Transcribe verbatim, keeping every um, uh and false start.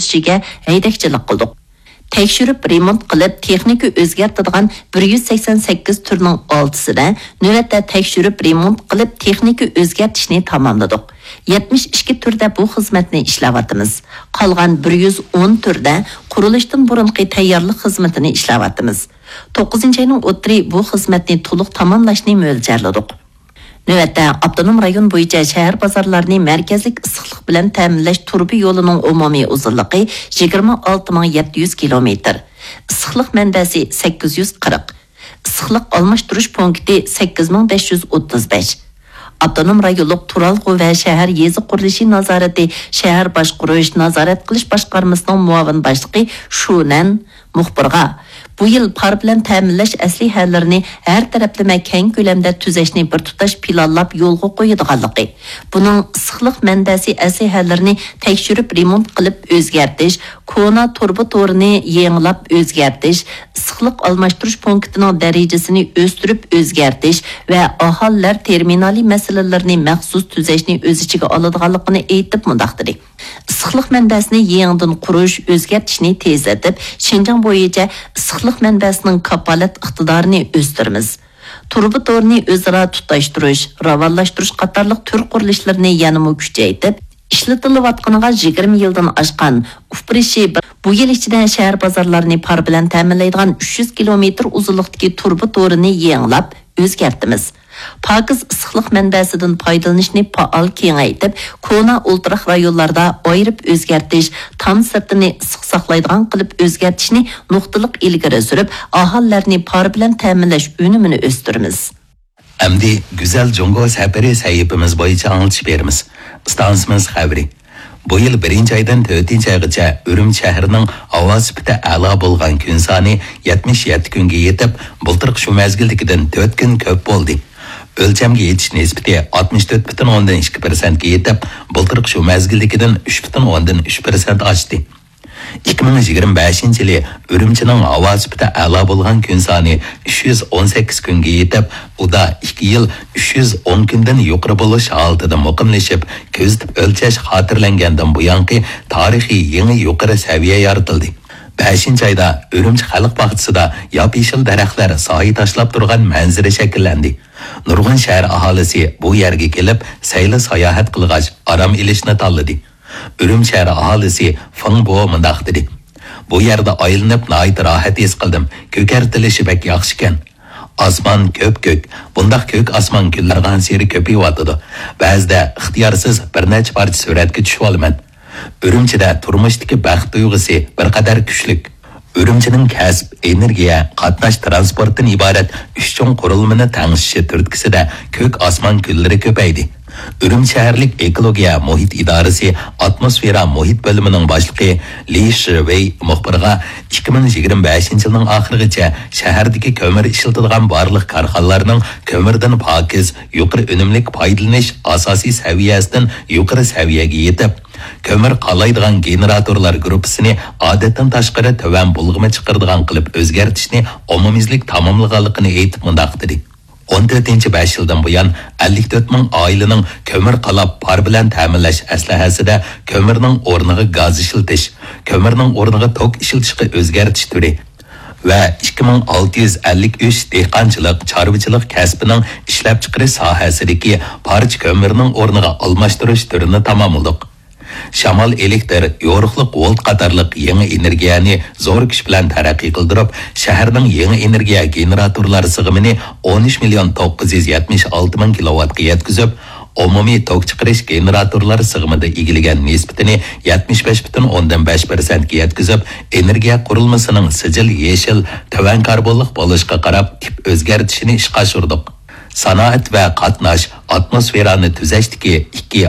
ئىشىگە ھەيدەكچىلىك قىلدۇق. تەكشۈرۈپ رېمونت قىلىپ تېخنىكا ئۆزگەرتىدىغان بىر يۈز سەكسەن سەككىز تۈرنىڭ ئالتىسىدە، نۆۋەتتە تەكشۈرۈپ رېمونت قىلىپ تېخنىكا ئۆزگەرتىشنى تاماملىدۇق. يەتمىش ئىككى تۈردە بۇ خىزمەتنى ئىشلەۋاتىمىز. قالغان بىر يۈز ئون تۈردە قۇرۇلۇشتىن بۇرۇنقى تەييارلىق خىزمىتىنى ئىشلەۋاتىمىز. توققۇزىنچى ئاينىڭ ئوتتۇرى بۇ خىزمەتنى تولۇق تاماملاشنى مۆلچەرلىدۇق. نۆۋەتتە ئاپتونوم رايون بويىچە شەھەر بازارلارنى مەركەزلىك ئىسسىقلىق بىلەن تەمىنلەش تۇرۇبا يولىنىڭ ئومۇمىي ئۇزۇنلۇقى يىگىرمە ئالتە مىڭ يەتتە يۈز كىلومېتىر، ئىسسىقلىق مەنبەسى سەككىز يۈز قىرىق، ئىسسىقلىق ئالماشتۇرۇش پونكىتى سەككىز مىڭ بەش يۈز ئوتتۇز بەش. ئاپتونوم رايونلۇق تۇرالغۇ ۋە شەھەر يېزا قۇرۇلۇشى نازارىتى شەھەر باشقۇرۇش نازارەت قىلىش باشقارمىسىنىڭ مۇئاۋىن باشلىقى شۇ نەن مۇخبىرغا، بۇ يىل پار بىلەن تەمىنلەش ئەسلىھەلىرىنى ھەر تەرەپلىمە كەڭ كۆلەمدە تۈزەشنى بىر تۇتاش پىلانلاپ يولغا قويىدىغانلىقى، بۇنىڭ ئىسسىقلىق مەنبەسى ئەسلىھەلىرىنى تەكشۈرۈپ رېمونت قىلىپ ئۆزگەرتىش، كونا تۇرۇبا تورىنى يېڭىلاپ ئۆزگەرتىش، ئىسسىقلىق ئالماشتۇرۇش پونكىتىنىڭ دەرىجىسىنى ئۆستۈرۈپ ئۆزگەرتىش ۋە ئاھالىلەر تېرمىنالى مەسىلىلىرىنى مەخسۇس تۈزەشنى ئۆز ئىچىگە ئالىدىغانلىقىنى ئېيتىپ مۇنداق دېدى. ئىسسىقلىق مەنبەسىنى يېڭىدىن قۇرۇش، ئۆزگەرتىشنى تېزلىتىپ، شىنجاڭ بويىچە ئىسسىقلىق مەنبەسىنىڭ كاپالەت ئىقتىدارىنى ئۆستۈرىمىز. تۇرۇبا تورىنى ئۆزئارا تۇتاشتۇرۇش، راۋانلاشتۇرۇش قاتارلىق تۈر قۇرۇلۇشلىرىنى يەنىمۇ كۈچەيتىپ، ئىشلىتىلىۋاتقىنىغا يىگىرمە يىلدىن ئاشقان ئۇپرىشى بۇ يىل ئىچىدە شەھەر بازارلارنى پار بىلەن تەمىنلەيدىغان ئۈچ يۈز كىلومېتىر ئۇزۇنلۇقتىكى تۇرۇبا تورىنى يېڭىلاپ ئۆزگەرتىمىز. پاكىز ئىسسىقلىق مەنبەسىدىن پايدىلىنىشنى پائال كېڭەيتىپ، كونا ئولتۇراق رايونلاردا ئايرىپ ئۆزگەرتىش، تام سىرتىنى ئىسسىق ساقلايدىغان قىلىپ ئۆزگەرتىشنى نۇقتىلىق ئىلگىرى سۈرۈپ، ئاھالىلەرنى پار بىلەن تەمىنلەش ئۈنۈمىنى ئۆستۈرىمىز. ئەمدى گۈزەل جۇڭگو سەپىرى سەھىپىمىز بويىچە ئاڭلىتىش بېرىمىز. ئىستانسىمىز خەۋىرى. بۇ يىل بىرىنچى ئايدىن تۆتىنچى ئايغىچە ئۈرۈمچى شەھىرىنىڭ ھاۋا سۈپىتى ئەلا بولغان كۈن سانى يەتمىش يەتتە كۈنگە يېتىپ، بۇلتۇرقى شۇ مەزگىلدىكىدىن تۆت كۈن كۆپ بولدى. ئۆلچەمگە يېتىش نىسبىتى ئاتمىش تۆت پۈتۈن ئوندىن ئىككى پىرسەنتكە يېتىپ، بۇلتۇرقى شۇ مەزگىلدىكىدىن ئۈچ پۈتۈن ئوندىن ئۈچ پىرسەنت ئاشتى. ئىككى مىڭ يىگىرمە بەشىنچى يىلى ئۈرۈمچىنىڭ ھاۋا سۈپىتى ئەلا بولغان كۈن سانى ئۈچ يۈز ئون سەككىز كۈنگە يېتىپ، ئۇدا ئىككى يىل ئۈچ يۈز ئون كۈندىن يۇقىرى بولۇش ھالىتىدە مۇقىملىشىپ، كۆزىتىپ ئۆلچەش خاتىرىلەنگەندىن بۇيانقى تارىخىي يېڭى يۇقىرى سەۋىيە يارىتىلدى. بەشىنچى ئايدا ئۈرۈمچى خەلق باغچىسىدا ياپيېشىل دەرەخلەر سايە تاشلاپ تۇرغان مەنزىرە شەكىللەندى. نۇرغۇن شەھەر ئاھالىسى بۇ يەرگە كېلىپ، سەيلە ساياھەت قىلغاچ، ئارام ئېلىشنى تاللىدى. ئۈرۈمچى شەھەر ئاھالىسى فېڭ بو مۇنداق دېدى: «بۇ يەردە ئايلىنىپ ناھايىتى راھەت ھېس قىلدىم. كۆكەرتىلىشى بەك ياخشىكەن. ئاسمان كۆپكۆك، بۇنداق كۆك ئاسمان كۈنلەر بارغانسېرى كۆپىيىۋاتىدۇ. بەزىدە ئىختىيارسىز بىر نەچچە پارچە سۈرەتكە چۈشۈۋالىمەن.» ئۈرۈمچىدە تۇرمۇشتىكى بەخت تۇيغۇسى بىر قەدەر كۈچلۈك. ئۈرۈمچىنىڭ كەسىپ، ئېنېرگىيە، قاتناش، تىرانسپورتتىن ئىبارەت ئۈچ چوڭ قۇرۇلمىنى تەڭشىشى تۈرتكىسىدە كۆك ئاسمان كۈنلىرى كۆپەيدى. ئۈرۈمچى شەھەرلىك ئېكولوگىيە مۇھىت ئىدارىسى ئاتموسفېرا مۇھىت بۆلۈمىنىڭ باشلىقى لى شىۋېي مۇخبىرغا، ئىككى مىڭ يىگىرمە بەشىنچى يىلنىڭ ئاخىرىغىچە شەھەردىكى كۆمۈر ئىشلىتىدىغان بارلىق كارخانىلارنىڭ كۆمۈردىن پاكىز، يۇقىرى ئۈنۈملۈك پايدىلىنىش ئاساسىي سەۋىيەسىدىن يۇقىرى سەۋىيەگە يېتىپ، كۆمۈر قالايدىغان گېنېراتورلار گۇرۇپپىسىنى ئادەتتىن تاشقىرى تۆۋەن بۇلغىما چىقىرىدىغان قىلىپ ئۆزگەرتىشنى ئومۇميۈزلۈك تاماملىغانلىقىنى ئېيتىپ مۇنداق دېدى: «ئون تۆتىنچى بەش يىلدىن بۇيان ئەللىك تۆت مىڭ ئائىلىنىڭ كۆمۈر قالاپ پار بىلەن تەمىنلەش ئەسلىھەسىدە كۆمۈرنىڭ ئورنىغا گاز ئىشلىتىش، كۆمۈرنىڭ ئورنىغا توك ئىشلىتىشقا ئۆزگەرتىش تۈرى ۋە ئىككى مىڭ ئالتە يۈز ئەللىك ئۈچ دېھقانچىلىق، چارۋىچىلىق كەسپىنىڭ ئىشلەپچىقىرىش ساھەسىدىكى پارچە كۆمۈرنىڭ ئورنىغا ئالماشتۇرۇش تۈرىنى تاماملىدۇق. شامال ئېلېكتىر، يورۇقلۇق ۋولت قاتارلىق يېڭى ئېنېرگىيەنى زور كۈچ بىلەن تەرەققىي قىلدۇرۇپ، شەھەرنىڭ يېڭى ئېنېرگىيە گېنېراتورلار سىغىمىنى ئون ئۈچ مىليون توققۇز يۈز يەتمىش ئالتە مىڭ كىلوۋاتقا يەتكۈزۈپ، ئومۇمىي توك چىقىرىش گېنېراتورلار سىغىمىدا ئىگىلىگەن نىسبىتىنى يەتمىش بەش پۈتۈن ئوندىن بەش پىرسەنتكە يەتكۈزۈپ، ئېنېرگىيە قۇرۇلمىسىنىڭ سىجىل يېشىل، تۆۋەن كاربونلۇق بولۇشىغا قاراپ تىپ ئۆزگەرتىشىنى ئىشقا ئاشۇردۇق. سانائەت ۋە قاتناش، ئاتموسفېرانى تۈزەشتىكى ئىككى